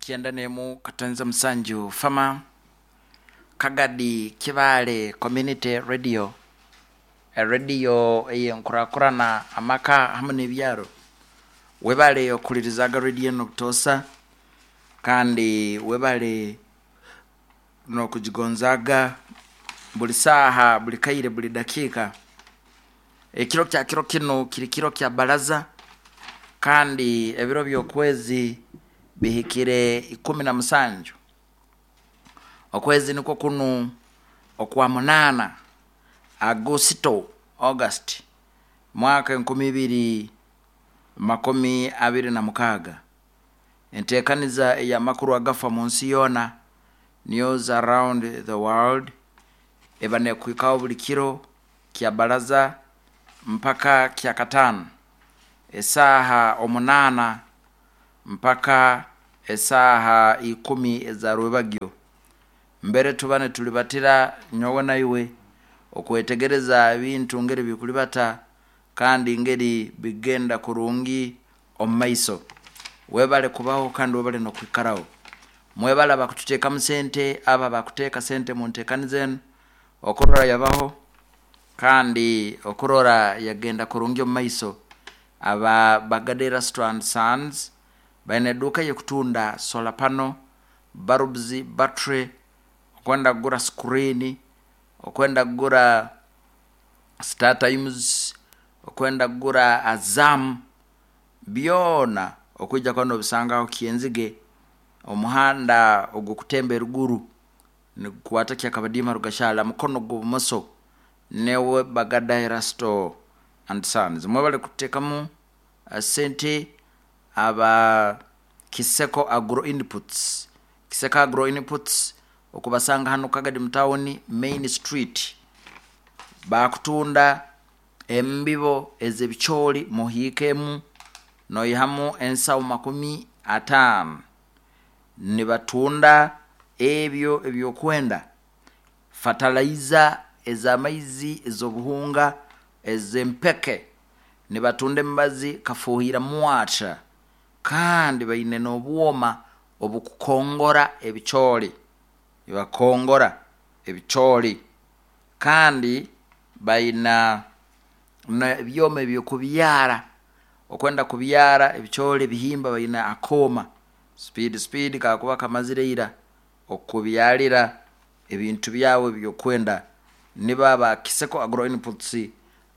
91 katonza musanju Fama Kagadi Kibaale Community Radio, erediyo ey'enkurakurana amaka hamu n'ebyaro. Webale okuhulirizaaga rediyo enu obutoosa kandi webale n'okugigonzaaga buli saaha, buli kaire, buli dakiika. Ekiro kya kiro kinu kiri kiro kya bbalaza kandi ebiro by'okwezi bihikire 17. Okwezi nikwo kunu okwa munaana, Agusito, August, mwaka 2026. Enteekaniza ey'amakuru agafa mu nsi yoona, News Around the World, eba neekuhikaho buli kiro kya bbalaza mpaka kyakataano esaaha omunaana mpaka esaaha ikumi eza rwebagyo. Mbere tuba nitulibatira nyowe na iwe okwetegereza ebintu ngeri bikulibata kandi ngeri bigenda kurungi omu maiso. Webale kubaho kandi webale n'okwikaraho. Mwebale abakututeekamu sente, abo abakuteeka sente mu nteekaniza enu okurora yabaho kandi okurora yagenda kurungi omu maiso. Aba Bagade Erasto and Sons baine eduuka ey'okutunda solar panel, bulbs, battery, okwenda kugura screen, okwenda kugura Star Times, okwenda kugura Azam, byona okwija kuba nobisanga aho Kyenzige, omuhanda ogw'okutemba eruguru nigukwata Kyakabadiima Rugashara mukono gw'obumoso newe Bagada Erasto and Sons. Mwebale kututeekamu sente aba Kiseko Agro Inputs. Kiseko Agro Inputs okubasanga hanu Kagadi mu tawuni Main Street. Baakutunda embibo ez'ebicoori muhiikemu noihamu ensaho 50. Nibatunda ebyo eby'okwenda, fatalaiza ez'amaizi, ez'obuhunga, ez'empeke. Nibatunda emibazi kafuuhira mwata kandi baine n'obwoma obukukongora ebicoori. Nibakongora ebicoori kandi baina n'ebyoma eby'okubyara. Okwenda kubyara ebicoori ebihimba baine akooma speed speed kakuba kamazire ira okubyarira ebintu byawe eby'okwenda. Nibo aba Kiseko Agro Inputs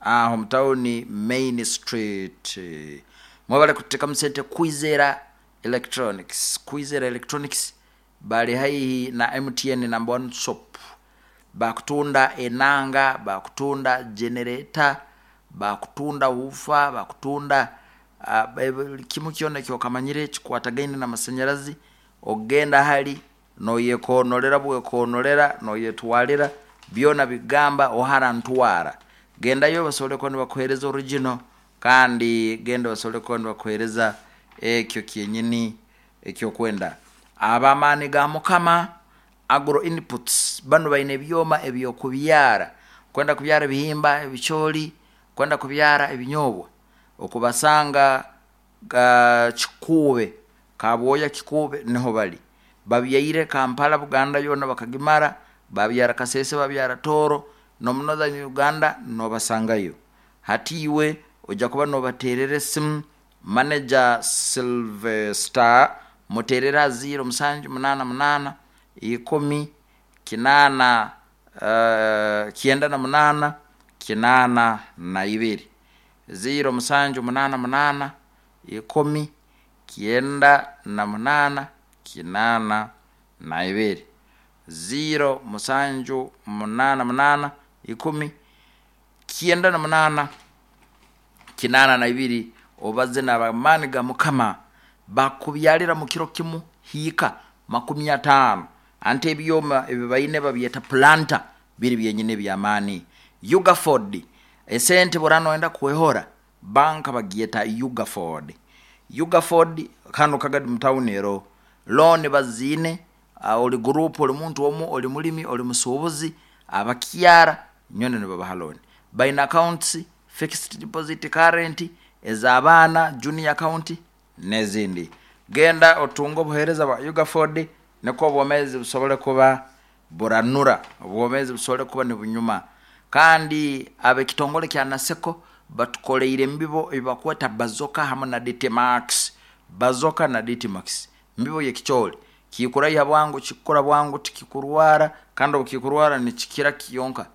aho mu tawuni Main Street. Mwebale kututeekamu sente Kwizera Electronics. Kwizera Electronics bali haihi na MTN number one shop. Bakutunda enanga, bakutunda generator, bakutunda woofer, bakutunda buli kimu kyona ekyokamanyire ekikwatagaine n'amasanyarazi. Ogenda hali noyekoonolera bwekoonolera noyetwalira byona bigamba ohara ntwara. Gendayo basobole kuba nibakuheereza original kandi genda basobole kuba nibakuheereza ekyo kyenyini eky'okwenda. Ab'amaani ga Mukama Agro Inputs banu baine ebyoma eby'okubyara, okwenda kubyara ebihimba, ebicoori, okwenda kubyara ebinyoobwa, okubasanga Kikuube, Kabwoya Kikuube niho bari. Babyaire Kampala Buganda yoona bakagimara, babyara Kasese, babyara Tooro, n'omu Northern Uganda noobasangayo. Hati iwe oija kuba noobateerera esimu, Manager Sylvester muteerere aha ziiro musanju munaana munaana, ikumi, kinaana 98, 82. Ziiro musanju munaana munaana, ikumi, 98, 82. Ziiro musanju munaana munaana, ikumi, 98, 82 obaze n'abamaani ga Mukama bakubyalira mu kiro kimu hiika 50. Anti ebyoma ebi baine babyeta pulanta biri byenyini eby'amaani. Ugaford, esente bw'oraaba noyenda kwehora, banka bagyeta Ugaford. Ugaford kanu Kagadi mu tawuni eroho. Looni baziine, ori guruupu, ori muntu omu, ori mulimi, ori musuubuzi, abakyara nyowe nibabaha looni. Baine accounts, fixed deposit, current, ez'abaana, junior account n'ezindi. Genda otunge obuheereza bwa Ugaford nukwo obwomeezi busobole kuba buranura, obwomeezi busobole kuba nibunyuma. Kandi ab'ekitongole kya Naseko batukoleire embibo ei bakweta Bazoka hamu na DT Max. Bazoka na DT Max mbibo y'ekicooli, kikuraiha bwangu, kikukura bwangu, tikikurwara, kandi obu kikurwara nikikira kyonka,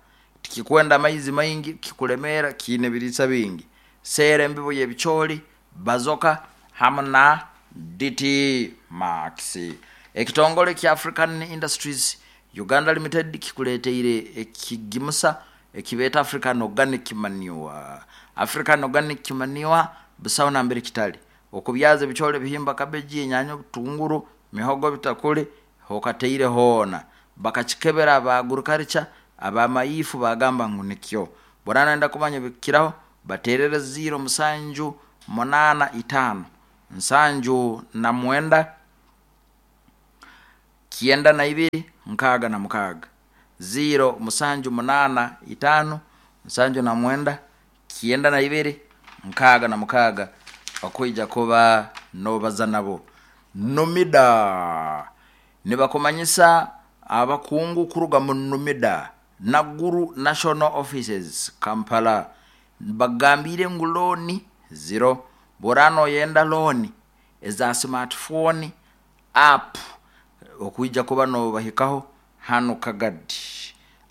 tikikwenda amaizi maingi, kikulemeera, kiine ebiriisa bingi. Seera embibo y'ebicooli Bazoka hamu na DT Max. Ekitongole kya African Industries Uganda Limited kikuleeteire ekigimusa ekibeeta African Organic Manure. African Organic Manure busaho nambere kitali. Okubyaza ebicooli, ebihimba, kabeji, enyaanya, obutunguru, mihogo, ebitakuli, hokataire hoona. Bakakikebera aba agriculture, ab'amaifu baagamba ngu nikyo. Bw'oraaba noyenda kumanya ebikukiraho, bateerere 0 musanju munaana itaano 79 92 66. 0 musanju munaana itaano 79 92 66 okwija kuba noobaza nabo. Numida nibakumanyisa abakungu kuruga mu Numida Naguru National Offices Kampala bakugambiire ngu looni ziro. Bw'oraaba nooyenda looni eza smartphone, app okwija kuba noobahikaho hanu Kagadi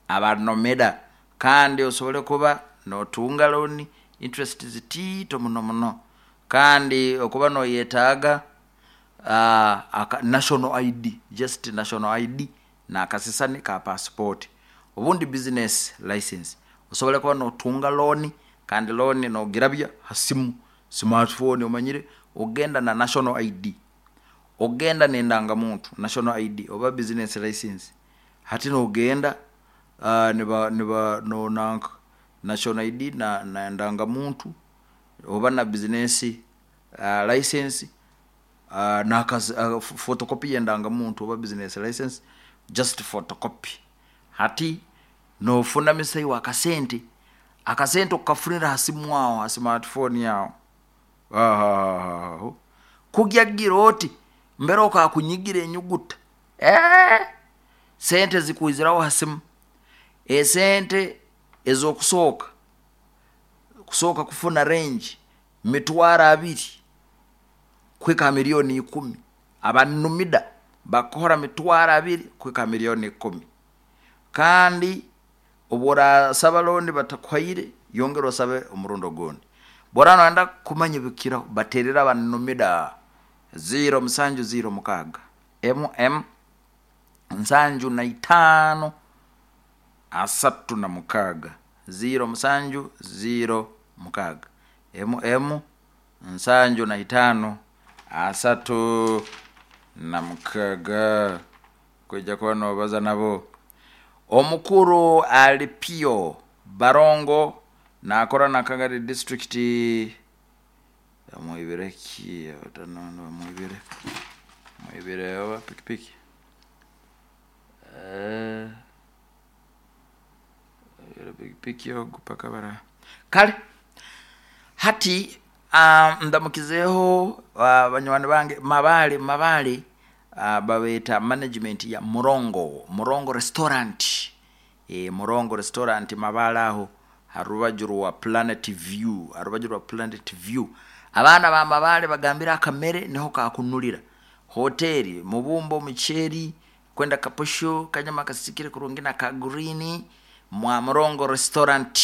aba Numida kandi osobole kuba nootunga looni interest zitiito muno muno kandi okuba nooyetaaga national ID, just national ID n'akasisani ka passport obundi business license osobole kuba nootunga looni kandi looni noogirabya ha simu, smartphone omanyire ogenda na national ID, ogenda n'endangamuntu national ID oba business license hati noogenda niba niba nonanka national ID n'endangamuntu oba na business license photocopy y'endangamuntu oba business license just photocopy. Hati noofunamisa iwe akasente, akasente okukafunira ha simu aho ha smartphone aho, haahaa kugyagira oti mbere okaakunyigire enyuguta, sente zikwiziraho ha simu. Esente ez'okusooka, kusooka kufuna range 20,000 kuhika ha 10,000,000. Aba Numida bakukora 20,000 kuhika ha 10,000,000. Kandi obu oraasaba looni batakuhaire, yongera osabe omurundi ogundi. Obu oraaba noyenda kumanya ebikukiraho, bateerere aba Numida 0 musanju 0 mukaaga MM 75 36, 0 musanju 0 mukaaga MM 75 36 kwija kuba noobaza nabo. Omukuru Alipio Barongo naakora na Kagadi district bamwibire ki bamwibire bamwibire oba pikipiki pikipiki ogu paka bara kale hati ndamukizeeho banywani bange Mabaale Mabaale babeeta management ya Murongo, Murongo restaurant, Murongo restaurant Mabaale aho ha rubaju rwa Planet View, ha rubaju rwa Planet View. Abaana ba Mabaale bagambire akamere niho kakunulira. Hoteeri, mubumbo, omuceeri, kwenda kaposho, kanyama kasiikire kurungi na ka green, mwa Murongo restaurant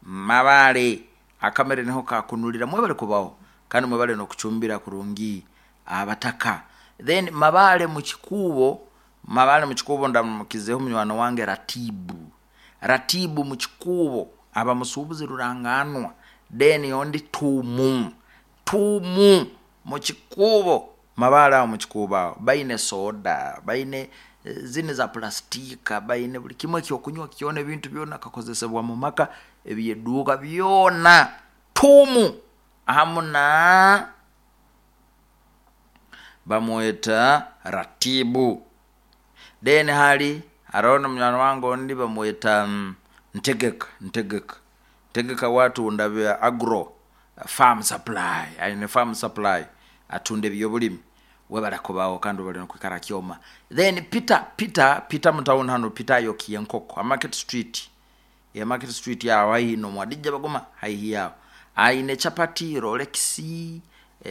Mabaale akamere niho kakunulira. Mwebale kubaho kandi mwebale n'okucumbira kurungi abataka. Then Mabaale mu Kikuubo, Mabaale mu Kikuubo ndamukizeeho munywani wange Ratibu. Ratibu mu Kikuubo aba musuubuzi rurangaanwa, then ondi Tuumu, Tuumu mu Kikuubo, Mabaale aho mu Kikuubo aho baine soda, baine zinu eza pulasitiika, baine buli kimu ekyokunywa kyona ebintu byona kakozesebwa mu maka eby'eduuka byona Tuumu hamu na bamweta Ratibu. Then hali haroho na munywani wange ondi bamweta Ntegeka, Ntegeka, Ntegeka we atunda bya agro farm supply, aine farm supply. Atunda ebyobulimi. Webale kubaho kandi webale nokwikara Kyoma. Then Peter, Peter, Peter mutawuni hanu. Peter ayokiye enkoko ha Market Street, ya Market Street aho haihi nomwadijja baguma haihi aho. Aine chapati, rolex,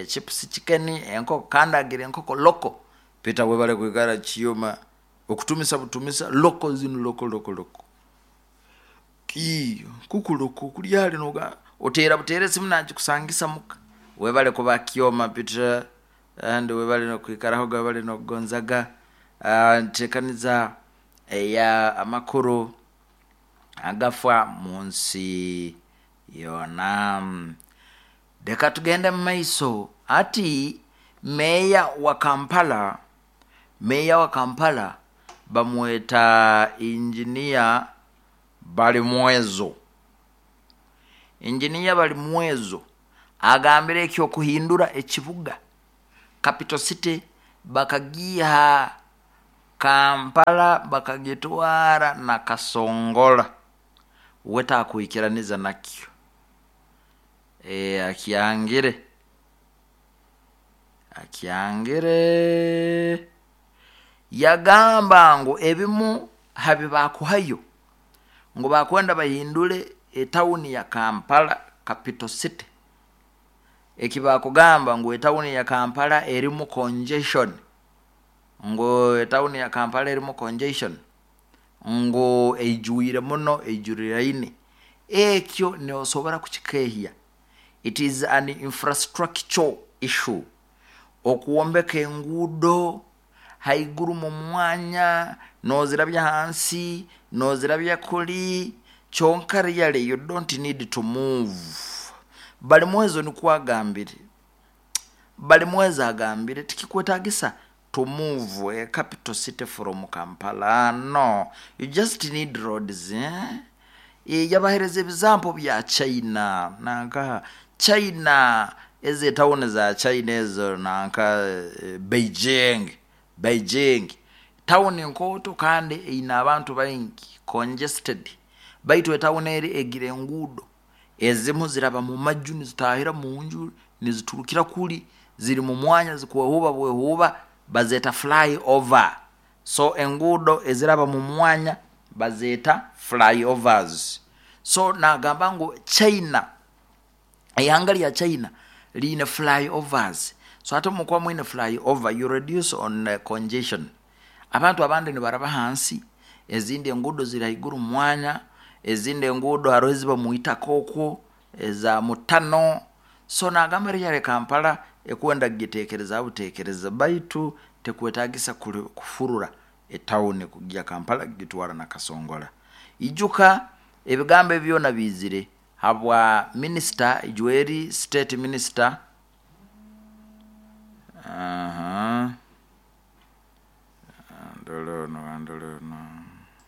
chips, chicken, enkoko, kandi agira enkoko loko. Peter, webale kwikara Kyoma, okutumisa butumisa loko zinu, loko loko loko kuku loko kulyali noga oteera buteera esimu nagikusangisa muka. Webale kuba Kyoma, Peter, and webale nokwikarahoga, webale nokugonzaga. Ntekaniza eya amakuru agafa mu nsi yoona. Leka tugende mu maiso. Ati meeya wa Kampala, meeya wa Kampala bamweta Injiniya Balimwezo. Injiniya Balimwezo agambire ekyokuhindura ekibuga capital city, bakagiiha Kampala bakagitwara na Kasongola, we takwikiraniza nakyo. Akyangire, akyangire. Yagamba ngu ebimu habibakuhayo ngu bakwenda bahindule etawuni ya Kampala capital city, eki bakugamba ngu etawuni ya Kampala erimu congestion, ngu etawuni ya Kampala erimu congestion, ngu eijwire muno, eijuriraine. Ekyo nosobora kukikehya. It is an infrastructure issue. Okwombeka enguudo haiguru mu mwanya, nozirabya hansi, nozirabya kuli, kyonka really you don't need to move. Balimwezo nikwo agambire. Balimwezo agambire tikikwetagisa to move a capital city from Kampala. No, you just need roads, eh? Yabahereza ebizampo bya China, nanka China, ezo etawuni za China ezo, nanka Beijing. Beijing tawuni nkooto kandi eine abantu baingi, congested, baitu etawuni eri egira enguudo ezimu ziraba mu maju, nizitahira mu nju, niziturukira kuli, ziri mu mwanya, zikwehuuba bwehuuba, bazeeta fly over. So enguudo eziraba mu mwanya bazeeta fly overs. So nagamba ngu China, eihanga lya China liine fly overs. So ate mukuba mwine fly over, you reduce on congestion. Abantu abandi nibaraba hansi, ezindi enguudo ziri haiguru mu mwanya, ezindi enguudo haroho eziba mu itaka okwo, eza mutano. So nagamba really Kampala ekwenda kugitekereza butekereza, baitu tekwetagisa kufurura etawuni kugya Kampala kugitwara na Kasongola. Ijuka ebigambo ebi byona biizire habwa minisita Ijweri, state minister.